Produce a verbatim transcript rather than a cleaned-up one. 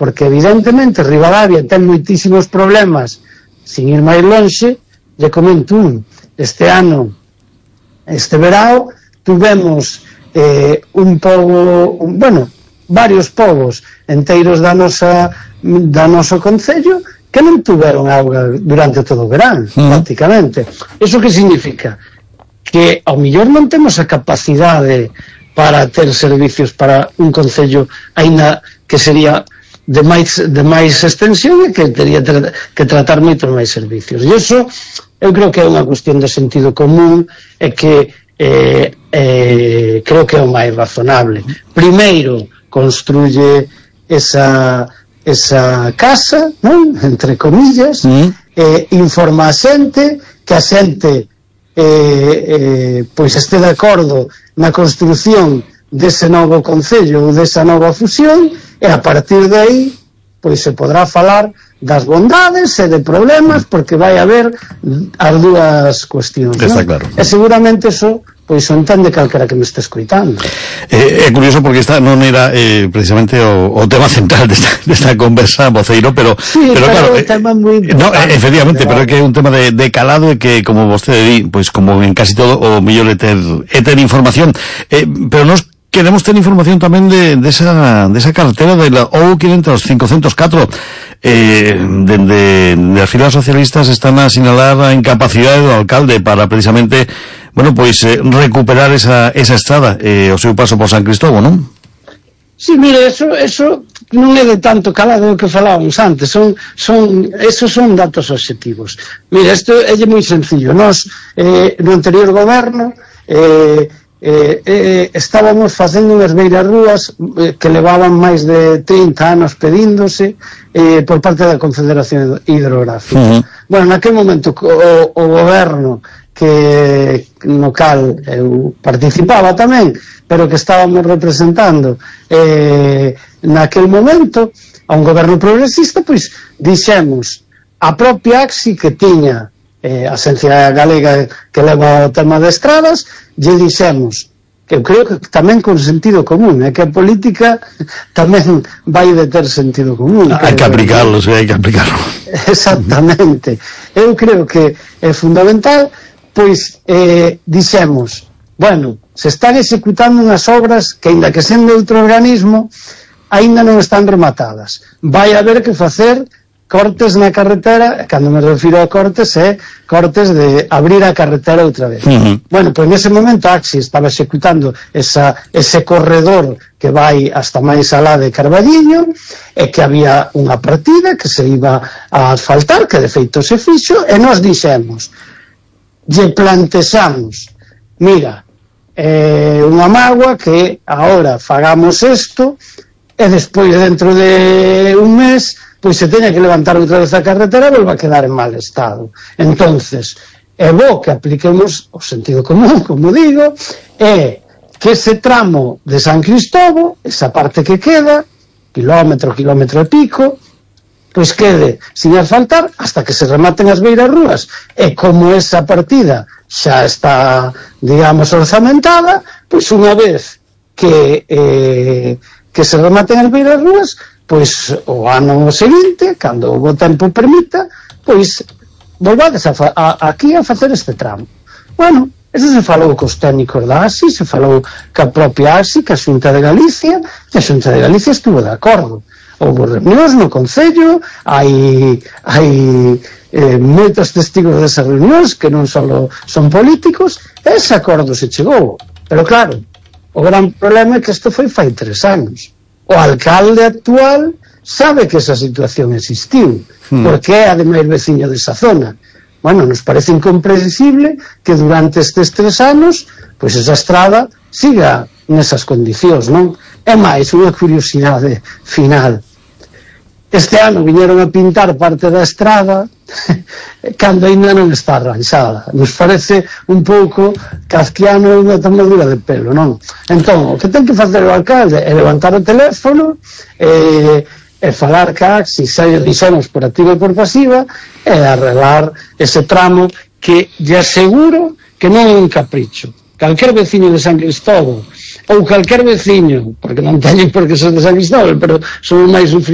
porque evidentemente Ribadavia ten moitísimos problemas, sin ir máis lonxe, lle comento un, este ano, este verao, tuvemos eh, un pobo, un, bueno, varios povos enteiros da nosa, da noso concello, que non tuveron auga durante todo o verán, mm. prácticamente. Iso que significa? Que ao mellor non temos a capacidade para ter servicios para un concello, aínda que sería de máis, de máis extensión e que teria tra que tratar moitos máis servicios. E iso eu creo que é unha cuestión de sentido común e que eh, eh, creo que é o máis razonable. Primeiro construye esa, esa casa, non? Entre comillas, mm. eh, informa a xente, que a xente eh, eh, pois este de acordo na construción dese novo concello ou desa nova fusión, e a partir de aí pois se podrá falar das bondades e de problemas, porque vai haber as dúas cuestións, está non? Claro. E seguramente eso pois o entende calquera que me este escoitando. Eh, é curioso porque esta non era eh, precisamente o, o tema central desta, desta conversa, voceiro, pero sí, pero, pero claro, é un tema moi eh, no, efectivamente, pero é que é un tema de, de calado e que, como vostede di, pois como en casi todo, o mellor é ter, é ter información, eh, pero nos queremos ter información tamén de, de, esa, de esa carretera de la O quinientos cincuenta y cuatro. Eh, dende de, de as filas socialistas están a sinalar a incapacidade do alcalde para precisamente, bueno, pois eh, recuperar esa, esa estrada, eh, o seu paso por San Cristóbal, non? Sí, mire, eso, eso non é de tanto calado do que falábamos antes, son, son, esos son datos objetivos. Mire, isto é moi sencillo. Nós, eh, no anterior goberno, eh, Eh, eh, estábamos facendo unhas beirarrúas eh, que levaban máis de trinta anos pedíndose eh, por parte da Confederación Hidrográfica. Uh -huh. Bueno, naquel momento o, o goberno que no cal eu participaba tamén, pero que estábamos representando eh, naquel momento a un goberno progresista, pois dixemos a propia AXI, que tiña eh, a Axencia Galega que leva o tema de estradas, lle dixemos, que eu creo que tamén con sentido común, é que a política tamén vai de ter sentido común. Hai que aplicarlo, sí, hai que aplicarlo. Exactamente. Eu creo que é fundamental, pois eh, dixemos, bueno, se están executando unhas obras que, aínda que sendo outro organismo, aínda non están rematadas. Vai haber que facer cortes na carretera, cando me refiro a cortes é cortes de abrir a carretera outra vez. Uh -huh. Bueno, pois nese momento a AXI estaba executando esa, ese corredor que vai hasta máis alá de Carballiño, e que había unha partida que se iba a asfaltar, que de feito se fixo, e nós dixemos, lle plantexamos, mira, é unha mágoa que agora fagamos isto, e despois dentro de un mes pois se teña que levantar outra vez a carretera e volva a quedar en mal estado. Entonces, é bo que apliquemos o sentido común, como digo, é que ese tramo de San Cristóbal, esa parte que queda, kilómetro, kilómetro e pico, pois quede sin asfaltar hasta que se rematen as beirarrúas. E como esa partida xa está, digamos, orzamentada, pois unha vez que eh, que se rematen as beirarrúas, pois o ano seguinte, cando o tempo permita, pois volvades a, a, aquí a facer este tramo. Bueno, eso se falou cos técnicos da AXI, se falou ca propia AXI, ca Xunta de Galicia, e a Xunta de Galicia estuvo de acordo. Houve reunións no Concello, hai, hai eh, moitos testigos desas reunións que non só son políticos, e ese acordo se chegou. Pero claro, o gran problema é que isto foi fai tres anos. O alcalde actual sabe que esa situación existiu, hmm. porque é ademais veciño desa zona. Bueno, nos parece incomprensible que durante estes tres anos pois esa estrada siga nesas condicións, non? É máis unha curiosidade final. Este ano viñeron a pintar parte da estrada cando ainda non está arranxada. Nos parece un pouco kafkiano unha tomadura de pelo, non? Entón, o que ten que facer o alcalde é levantar o teléfono e, e falar ca AXI, se dixemos por activa e por pasiva, e arreglar ese tramo que lle aseguro que non é un capricho. Calquer veciño de San Cristóbal ou calquer veciño, porque non teñen por que ser de San Cristóbal, pero son máis sufridos